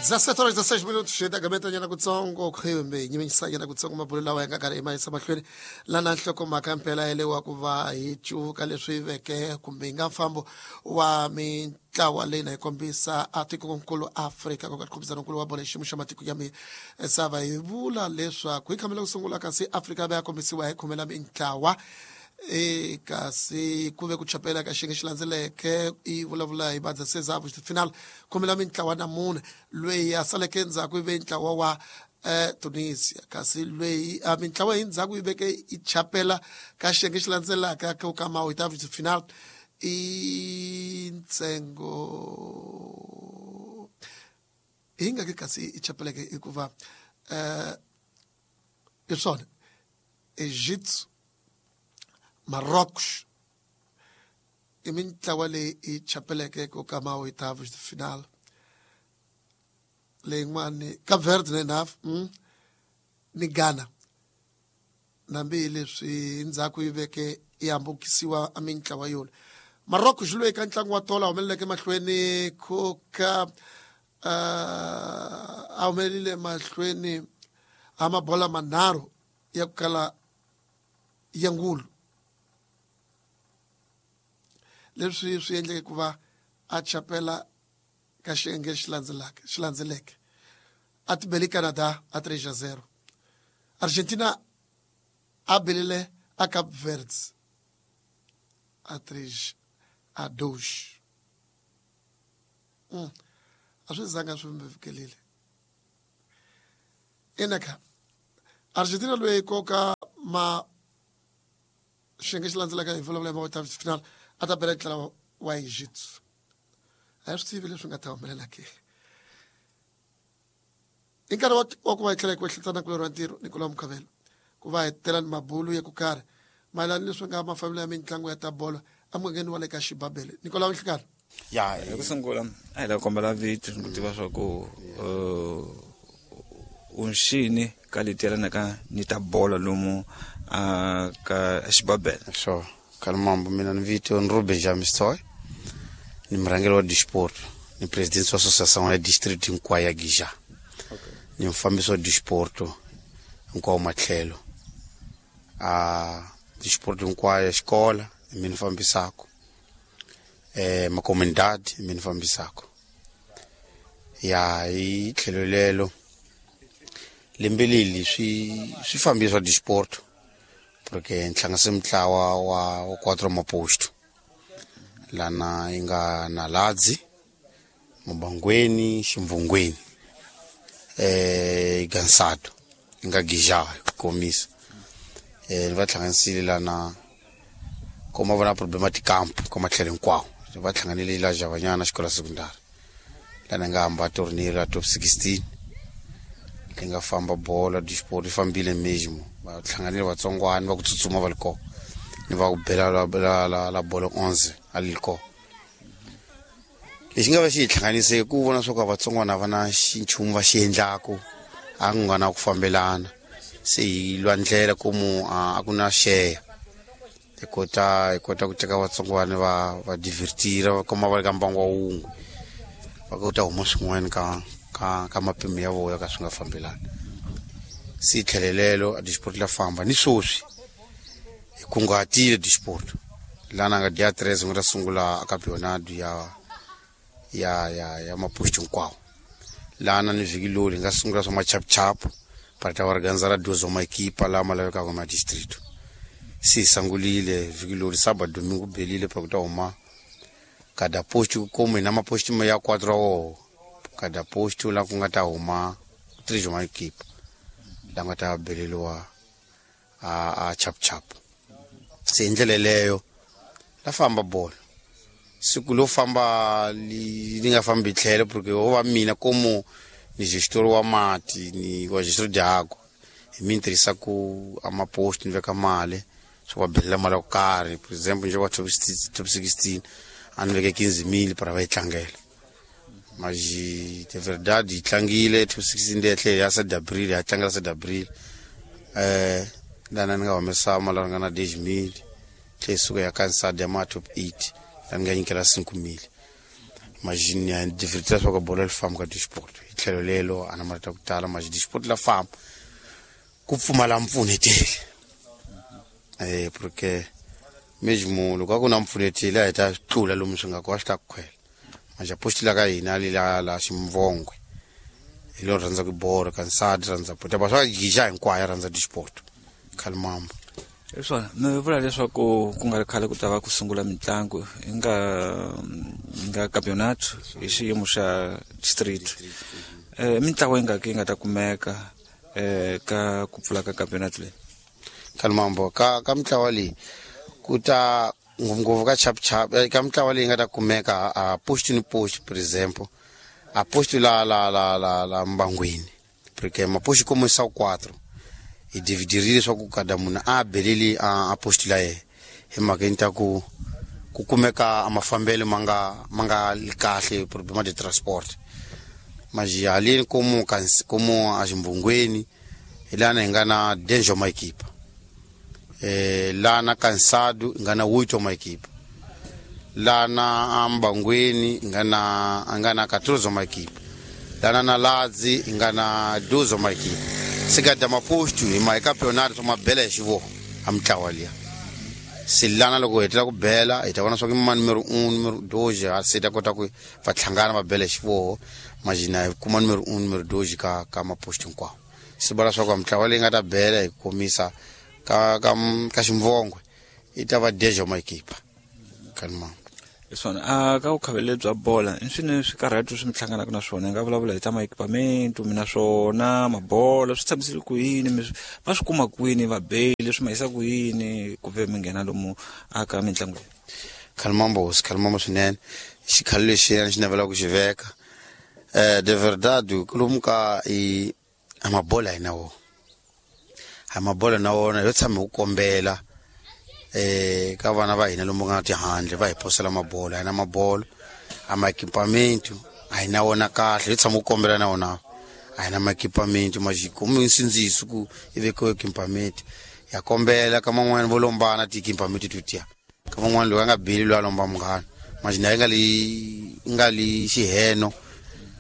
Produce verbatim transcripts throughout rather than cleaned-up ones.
dezessete horas dezesseis minutos xitagameta nyana kutsongo kumbe nyimisanyana kutsongo mabulo lawa ya nga karhi ma yisa mahlweni lana nhlokomhaka mpela yelewa ku va hi cuvuka leswi veke kumbe hi nga mfambo wa mintlawa leyi na yi kombisa a tikonkulu Afrika ku nga nkulu wa bolo xiyimo xa matiko ya misava. Hi vula leswaku hi khamela ku sungula kasi Afrika va ya kombisiwa hi khumela mintlawa e kasi ku ve ku chapela ka xiyenge xi landzeleke i vulavula hi badza final khumela mintlawa na mune loyi a saleke ndzhaku yi ve ntlawa wa eh, Tunisia kasi loyi a mintlawa hi ndzhaku yi veke i chapela ka xiyenge xi landzelaka ku ka ma oitavos de final i ntsengo hi nga ke kasi i chapeleke hikuva eh hi swona Egypt, Marrocos i mintlawa leyi i chapeleke ku ka ma oitavos de final leyin'wani Cape Verde na enough mm, ni Ghana nambi leswi ndzhaku yi veke yi hambukisiwa a mintlawa yona. Marrocos xi lwe eka ntlangu wa tolo a humeleleke mahlweni ku ka uh, a humelelile mahlweni a mabola manharhu ya ku kala ya ngulu leswi swi endleke ku va a chapela ka xiyenge xi landzelaka xi landzeleke a tibele Canada a three a zero. Argentina a belile a Cape Verde a três a dois. Mm. A swi zanga swi fikelile ina ka Argentina loyi koka ma xiyenge xi landzelaka hi vulavula hi ma final a ta bela ntlawa wa Egypt. A hi swi tivi leswi nga ta humelela ke i nkarhi wa wa ku va hi tlhela hi ku ehleketana kulorhi wa ntirho Nicolas Mukhavelo ku va hi tela ni mabulu ya ku karhi mayelana leswi nga mafambelo ya mitlangu ya ta bolo emugangeni wa le ka Xibabele. Nicolas Nhlikana. Ya, hi ku sungula a hi lava kombela vito ku tiva swa ku u nxini ka leti yelanaka ni ta bolo lomu a ka Xibabele. Sure. Kalmambo, mina ni vito ni Ruben Jamistoy, ni murhangeri wa disport, ni presidente wa associação ya district hinkwayo ya Gija. Ni mufambisi wa disport hinkwawo matlhelo. A disport hinkwayo ya xikola hi mina ni fambisaka. Eh macomunidade hi mina ni fambisaka. Ya hi tlhelo lelo lembe leli swi swi fambisa disport porque ni hlanganise mintlawa wa wa quatro maposto lana yi nga Naladzi, Mabangweni, Ximvungweni, eh Gansado yi nga Gija ku komisa. Eh ni va hlanganisile lana kuma vona problema ti camp ka matlhelo hinkwawo va hlanganile la Javanyana xikolo secondary lana nga hamba torneo la top sixteen li nga famba bola disport yi fambile mesmo va hlanganile vatsongwana va ku tsutsuma va li kona ni va ku bela la la la, la bolo onze a li kona. Lexi nga va xi hi hlanganise ku vona swa ku vatsongwana va na xinchumu va xi endlaku a ku nga na ku fambelana se hi lwa ndlela komu a ku na share hi kota hi kota ku teka vatsongwana va va divertira va kuma va ri ka mbangu wa wun'we va kota huma swin'wana ka ka ka mapimo ya vona ka swi nga fambelani. Se tlhelelelo a disport la famba ni swoswi hi kunguhatile disport lana nga dia tres nga ta sungula a campeonato ya ya ya ya maposto hinkwawo lana ni vhiki loli hi nga sungula swa machapuchapu para ta organizar duas uma equipa lama lavekaka ma distrito. Se hi sungulile vhiki loli sábado domingo belile pa ku ta huma kada posto como hi na maposto ya quatro woho kada posto la ku nga ta huma três uma equipa la nga ta beleliwa a a chapuchapu. Se hi ndlela leyo la famba bolo siku lo famba li li nga fambi tlhelo porque wo va mina como ni gestor wa mati ni wa gestor de água hi mi tirhisa ku a maposto ni veka mali swo va belela mali ya ku karhi. For example nje wa top top sixteen a ni veke quinze mil para va yi tlangela mas de verdade yi tlangile top sixteen leyi tlhela ya sete abril ya tlangela sete abril eh lana ni nga humesa mali ya ringana dez mil tlhela yi suka ya kansada ya ma top eight la ni nga nyikela cinco mil. Majini ya divertir swa ku bolo li famba ka disport hi tlhelo lelo a na marito ya ku tala maji disport la famba ku pfumala mpfuneteli eh porque mesmo loko a ku na mpfuneteli a hi ta tlula lomu swi nga ko a swi ta ku khwela manje post la ka hina li la la ximvongwe hi lo rhandza ku bolo ka nsati rhandza bolo ba swa gija hinkwayo rhandza disport khalimambo. Hi swona mi vula leswaku ku nga ri khale ku ta va ku sungula mitlangu hi nga nga campeonato hi xiyimo xa district eh mitlangu yi nga ki yi nga ta kumeka eh ka ku pfula ka campeonato leyi. Khalimambo ka ka mitlawa leyi ku ta ngopfungopfu ka chap chap ka mitlawa leyi nga ta kumeka a post ni post, por exemple a post la la la la la mbangwini porque mapost como são quatro hi dividirile leswaku kada munhu a beleli a post la yena hi mhaka ta ku ku kumeka a mafambelo ma nga ma nga li kahle problema de transport maji haleni como como a ximbungweni hi lana hi nga na danger maequipa eh lana cansado hi nga na oito maequipa lana ambangweni hi nga na a nga na quatorze maequipa lana na ladzi hi nga na doze maequipa se ka maposto hi ma hi campeonato swa mabela hi xivoho a mitlawa liya se lana loko hi hetela ku bela hi ta vona swa ku ma numero un numero doze a se ta kota ku va hlangana va bela hi xivoho majina hi kuma numero un numero doze ka ka maposto hinkwawo se vula swa ku mitlawa leyi nga ta bela hi komisa ka ka ka ximvongwe i ta va dejo maequipa kanma. Hi swona a ka vukhavele bya bola i swini swikarhato swi mi hlanganaka na swona hi nga vulavula hi ta ma-equipment mi na swona mabola swi tshamisile ku yini mi va swi kuma kwini vabeli swi ma yisa ku yini ku ve mi nghena lomu aka mitlangu leyi. Khalimambo hosi khalimambo swinene xikhalo lexiya xi navelaka ku xi veka eh de verdade lomu ka i a mabola hi na wona a mabola na wona yo tshama hi ku kombela eh ka vana va hina lomu nga tihandle va hi posela mabolo a hi na mabolo a ma-equipamento a hi na wona kahle hi tshama ku kombela na wona a hi na ma-equipamento majikomi nsindziso ku i vekiwe equipament ya kombela ka man'wani vo lombana ti-equipamento to tiya ka man'wani loyi a nga beli loyi a lomba munghana majina yi nga li nga li xiheno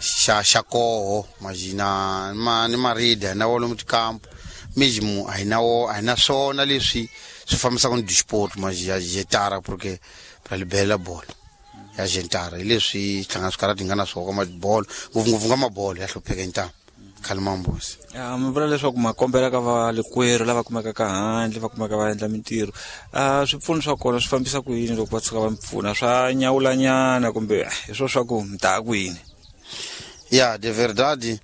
xa xa koho majina ma ni marida hi na wo lomu tikampu mesmo a hi na wo a hi na swona leswi swi fambisaka ni disport maji ya jetara porque ra libela bolo ya jetara hi leswi hlangana swikarhati hi nga na swona ka mabolo ngopfungopfu nga mabolo ya hlupheka hi ntamu khalimambosi. Ya mi vula leswaku ma kombela ka valekwerhu lava kumekaka handle va kumeka va endla mintirho a swipfuno swa kona swi fambisa ku yini loko va tshuka va mi pfuna swa nyawulanyana kumbe hi swo swa ku mi ta ku yini? Ya de verdade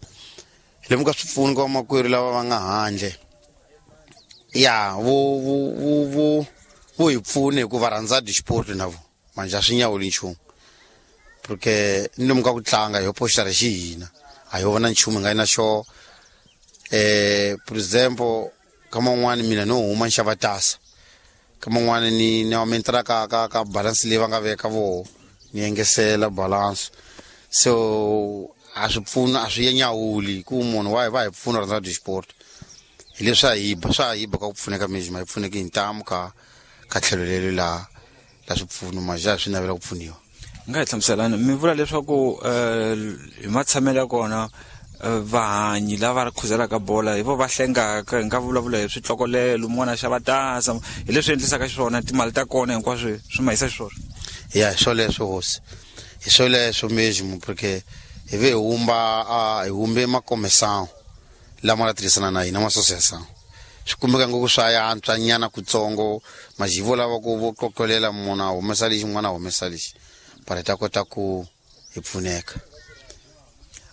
lomu ka swipfuno ka vamakwerhu lava va nga handle ya vo vo vo vo vo hi pfuna hikuva rhandza disport na vo manje a swi nyawuli nchumu porque ni lomu ka ku tlanga hi postara xi hina a hi vona nchumu hi nga yi na xo eh por exemple ka man'wani mina no huma ni xava tasa ka man'wani ni ni aumentara ka ka ka balance leyi va nga veka voho ni engesela balance so a swi pfuna a swi nyawuli ku munhu wa hi va hi pfuna rhandza disport hi leswi a hi ba swa hi ba ka ku pfuneka mesmo hi pfuneki hi ntamu ka ka tlhelo lelo la la swipfuno maja swi navela ku pfuniwa. Nga hi hlamuselani mi vula leswaku hi matshamelo ya kona vahanyi lava khuzelaka bola hi vo va hlengaka hi nga vulavula hi switlokolelo mun'wana a xava tasa hi leswi endlisaka xiswona timali ta kona hinkwaswo swi ma yisa xiswona. Ya hi swoleswo hosi hi swoleswo mesmo porque hi ve hi humba a hi humbe makomesawo lama la tirhisana na hina ma-association swi kumeka ngopfu swa yantswa nyana kutsongo majivo lava ku vo qoqolela munhu a humesa lexi n'wana a humesa lexi para hi ta kota ku hi pfuneka.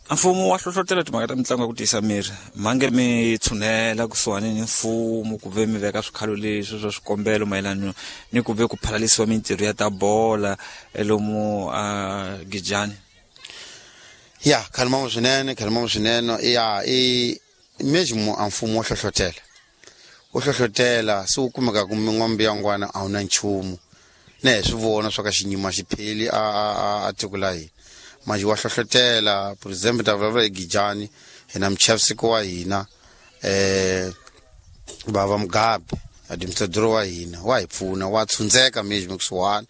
A mfumo wa hlohlotela timhaka ta mitlangu ya ku tiyisa miri mhange mi tshunela kusuhani ni mfumo ku ve mi veka swikhalo leswi swa swikombelo mayelana ni ku ve ku phalalisiwa mintirho ya ta bola lomu a Gijani. Ya khalimambo swinene khalimambo swinene ya i mesmo a mfumo wo hlohlotela wo hlohlotela se wu kumeka ku min'wambi ya ngwana a wu na nchumu na hi swi vona swa ka xinyima xi pheli a a a tiko la hina manje wa hlohlotela por exemple ta vulavula hi Gijani hi na muchavisiko wa hina eh bava Mugabe administrador wa hina wa hi pfuna wa tshundzeka mesmo kusuhani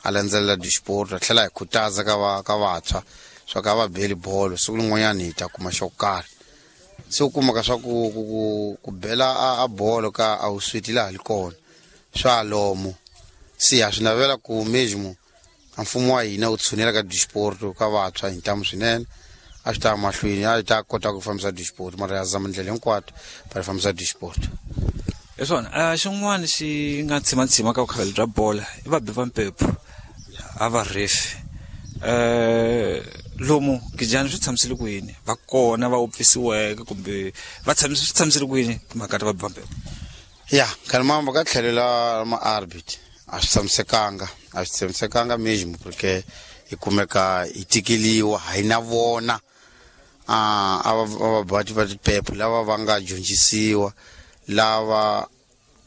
a landzelela disport a tlhela hi khutaza ka va ka vantshwa swa ka va beli bolo siku rin'wanyana hi ta kuma xo karhi se u kumaka swa ku ku ku ku bela a, a bolo ka a wu switi laha li kona swa lomo se ha swi navela ku mesmo a mfumo wa hina wu tshunela ka disport ka vantshwa hi ntamu swinene a swi ta mahlweni a hi ta kota ku fambisa disport mara ya zama ndlela hinkwato va fambisa disport. Hi swona a xin'wana xi nga tshimatshima ka vukhaveli bya bola i vabi va mpepho a va refi eh lomu kijana swi tshamisile ku yini va kona va upfisiweke kumbe va tshamise swi tshamisile ku yini timhaka ta vabi va mpepho? Ya khalimamba ka tlhelo la ma-arbit a swi tshamisekanga a swi tshamisekanga mesmo porque hi kumeka hi tikeliwa hi na vona a a vabati va tiphepho lava va nga dyondzisiwa lava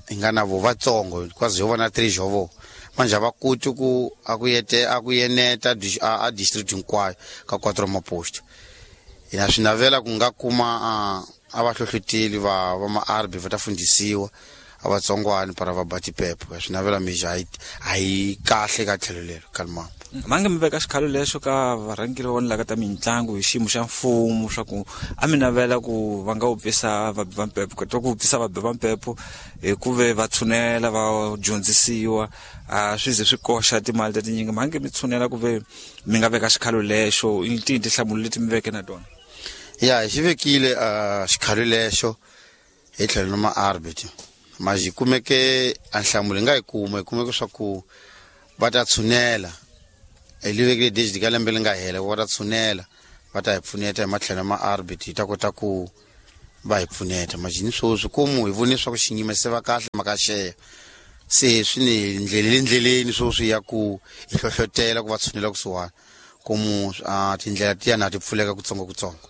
hi nga na vo vatsongo because ho vona three jovo manje a va koti ku a ku yete a ku yeneta a district hinkwayo ka quatro maposto. Hina swi navela ku nga kuma a va hlohloteli va va ma-arbi va ta fundisiwa a vatsongwani para va ba tiphepho swi navela mixo a yi a yi kahle ka tlhelo lero kalimamba. Mange mi veka xikhalo lexo ka varhangeri va vona ta mitlangu hi xiyimo xa mfumo swa ku a mi navela ku va nga upfisa vabi va mpepho ku ku upfisa vabi va mpepho hi ku ve va tshunela va dyondzisiwa a swi ze swi koxa timali ta tinyingi mange mi tshunela ku ve mi nga veka xikhalo lexo i tihi tinhlamulo leti mi veke na tona? Ya hi xi vekile xikhalo lexo hi tlhelo na ma-arbit ma hi kumeke a nhlamulo hi nga yi kuma hi kumeke swa ku va ta tshunela hi li vekile digit ka lembe li nga hela va ta tshunela va ta hi pfuneta hi matlhelo ma arbit hi ta kota ku va hi pfuneta majini sweswi komu hi vone swa ku xinyima se va kahle maka xeya se swi ni ndleleni ndleleni sweswi ya ku hi hlohlotela ku va tshunela kusuhani komu tindlela tiya na ti pfuleka kutsongo kutsongo.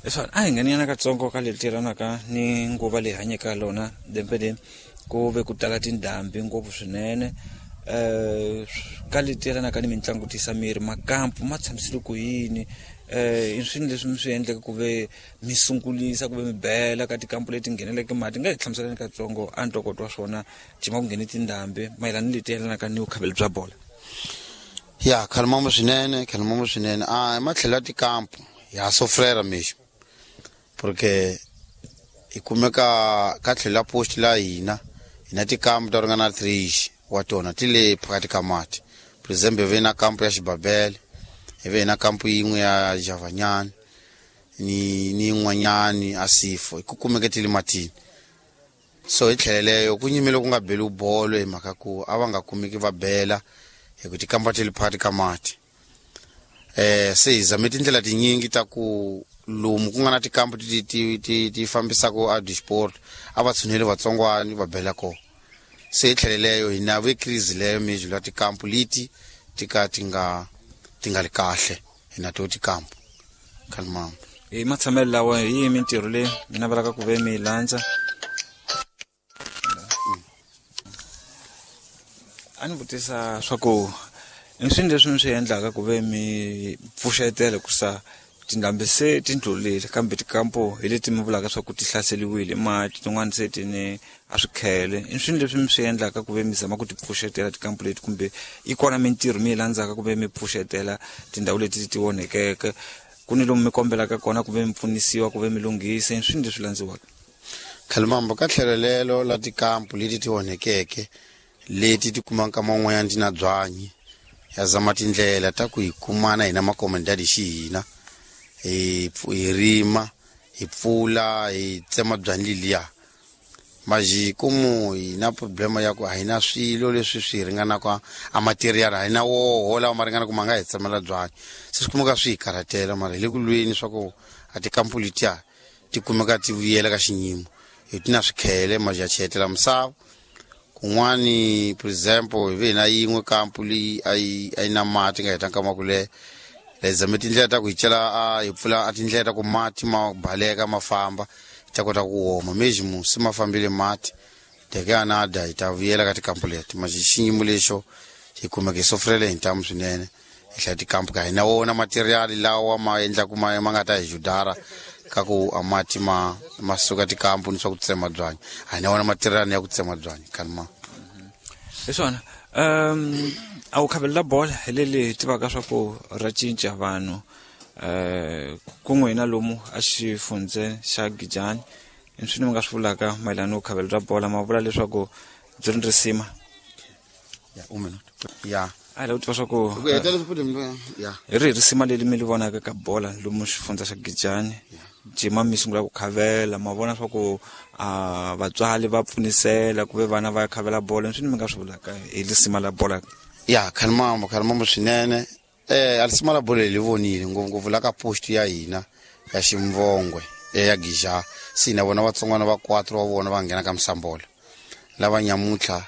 Leswi a hi ngheniyana katsongo ka leti tirhanaka ni nguva leyi hanyeke lona lembe leri ku ve ku tala tindhambi ngopfu swinene eh ka leti tirhanaka ni mitlangu tisa miri makampu ma tshamisile ku yini eh i swini leswi mi swi endleke ku ve mi sungulisa ku ve mi bela ka tikampu leti ngheneleke mati nga hi hlamuseleni katsongo a ntokoto wa swona jima ku nghene tindhambi mayelana ni leti yelanaka ni vukhaveli bya bola? Ya khalimambo swinene khalimambo swinene a hi matlhelo ya tikampu ya sofrera mixo porque hi kumeka ka tlhelo la post la hina hi na tikampu ta ringana three wa tona ti le phakathi ka mati. For example hi ve na kampu ya Xibabele hi ve na kampu yin'we ya Javanyani ni ni yin'wanyani a Sifo hi ku kumeke ti le matini. So hi tlhelo leyo ku nyimele ku nga beli bolo hi mhaka ku a va nga kumeki va bela hi ku tikampa ti le phakathi ka mati. Eh se hi zame tindlela tinyingi ta ku lomu ku nga na tikampu ti ti ti ti fambisaka a disport a va tshuneli vatsongwani va bela kona. Se hi tlhelo leyo hi na ve crise leyo mixo la tikampu leti ti ka ti nga ti nga li kahle hi na to tikampu khalimambo. Hi matshamelo lawa hi yihi mintirho leyi mi navelaka ku ve mi yi landza? A ni vutisa swa ku i swini leswi mi swi endlaka ku ve mi pfuxetela ku sa tindhambi se ti ndlulile kambe tikampo hi leti mi vulaka swa ku ti hlaseliwile mati tin'wana se ti ni a swikhele i swini leswi mi swi endlaka ku ve mi zama ku ti pfuxetela tikampo leti kumbe i kona mintirho mi yi landzaka ku ve mi pfuxetela tindhawu leti ti onhekeke ku ni lomu mi kombelaka kona ku ve mi pfunisiwa ku ve mi lunghisa i swini leswi landziwaka? Khalimambo ka tlhelo lelo la tikampo leti ti onhekeke leti ti kumaka man'wanyana ti na byanyi ya zama tindlela ta ku hi kumana hina makomendadi xi hina hi hi rima hi pfula hi tsema byanyi leliya maji komu hi na problema ya ku a hi na swilo leswi swi ringanaka a material a hi na woho lawa ma ringana ku ma nga hi tsemela byanyi se swi kumeka swi hi karhatela mara hi le ku lweni swa ku a tikampu letiya ti kumeka ti vuyela ka xinyimo hi ti na swikhele maji ya chehetela misava kun'wani. For example hi ve hi na yin'we kampu leyi a yi a yi na mati nga heta nkama ku leha hi zame tindlela ta ku hi cela a hi pfula a tindlela ta ku mati ma baleka ma famba hi ta kota ku oma meximo se ma fambile mati teke anada hi ta vuyela ka tikampu leti maji xiyimo lexo hi kumeka hi sofrele hi ntamu swinene hi hlaya tikampu ka hina wona materiali lawa ma endlaku ma ma nga ta hi judara ka ku a mati ma ma suka tikampu ni swa ku tsema byanyi a hi na wona materiali ya ku tsema byanyi khalima. Hi swona Um a wu khavelela bola hi leli hi tivaka swa ku ra cinca vanhu um ku n'wina lomu a xifundze xa Gijani i swi ni mi nga swi vulaka mayelana no khavelela bola ma vula leswaku byi ri risima ya un minuto ya a hi lava ku tiva swa ku ku hetela futhi ya hi rihi risima leri mi li vonaka ka bola lomu xifundza xa Gijani jima mi sungula ku khavela ma vona swa ku a vatswari va pfunisela ku ve vana va ya khavela bola swi ni mi nga swi vulaka hi lisima la bola ya khalimambo khalimambo swinene eh alisima la bola li vonile ngopfungopfu la ka post ya hina ya Ximvongwe ya Gija sina vona vatsongwana va quatro wa vona va nghena ka Msambola lava nyamutlha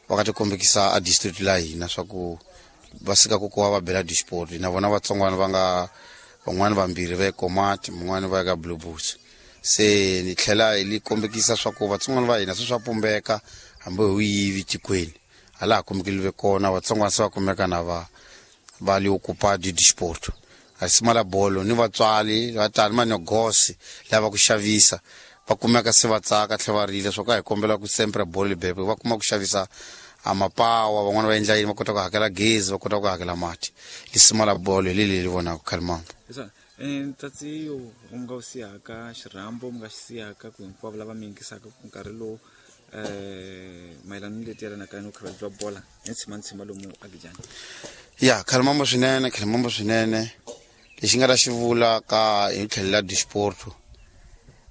va ka tikombekisa a district la hina swa ku va sika ku kuva va bela disport na vona vatsongwana va nga van'wani vambirhi va ekomati mun'wani va ya ka Blue Bulls se ni tlhela hi li kombekisa swa ku vatsongwana va hina swi swa pumbeka hambi hi yivi tikweni hala ha kumekile kona vatsongwana se va kumeka na va va li ocupa di disport a la bolo ni vatswari va tani manegosi lava ku xavisa va kumeka se va tsaka tlhe va rila swa ku a hi kombela ku sempre bolo libebe va kuma ku xavisa a mapawa van'wana va endla yini va kota ku hakela gezi va kota ku hakela mati lisima la bolo hi leli li vonaka khalimambo ntsatsi u nga wu siyaka xirhambo mi nga xi siyaka ku hinkwavo lava mi yingisaka ku nkarhi lowu um mayelana ni leti yelanaka ni vukhavela bya bola ni tshima ni tshima lomu aGijani ya khalimambo swinene khalimambo swinene lexi nga ta xi vula ka hi tlhelo la disport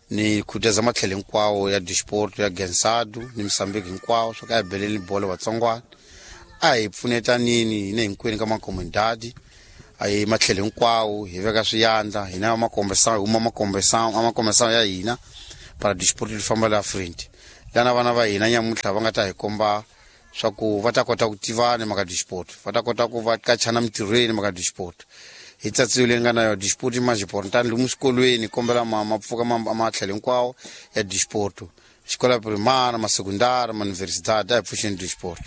ni khutaza matlhelo hinkwawo ya disport ya Gensadu ni Mozambique hinkwawo swa ka hi beleni bolo vatsongwana a hi pfunetanini hina hinkwenu ka makomendadi a hi matlhelo hinkwawo hi veka swiyandla hina makombesa huma makombesa amakombesa ya hina para disport li famba la front lana vana va hina nyamutlha va nga ta hi komba swa ku va ta kota ku tivana maka disport va ta kota ku va kachana mintirhweni maka disport hi tsatsiwe leyi nga na yo disport i majiport tani lomu swikolweni kombela ma ma pfuka matlhelo hinkwawo ya disport xikola primary ma sekundari ma universidade a hi pfuxeni disport.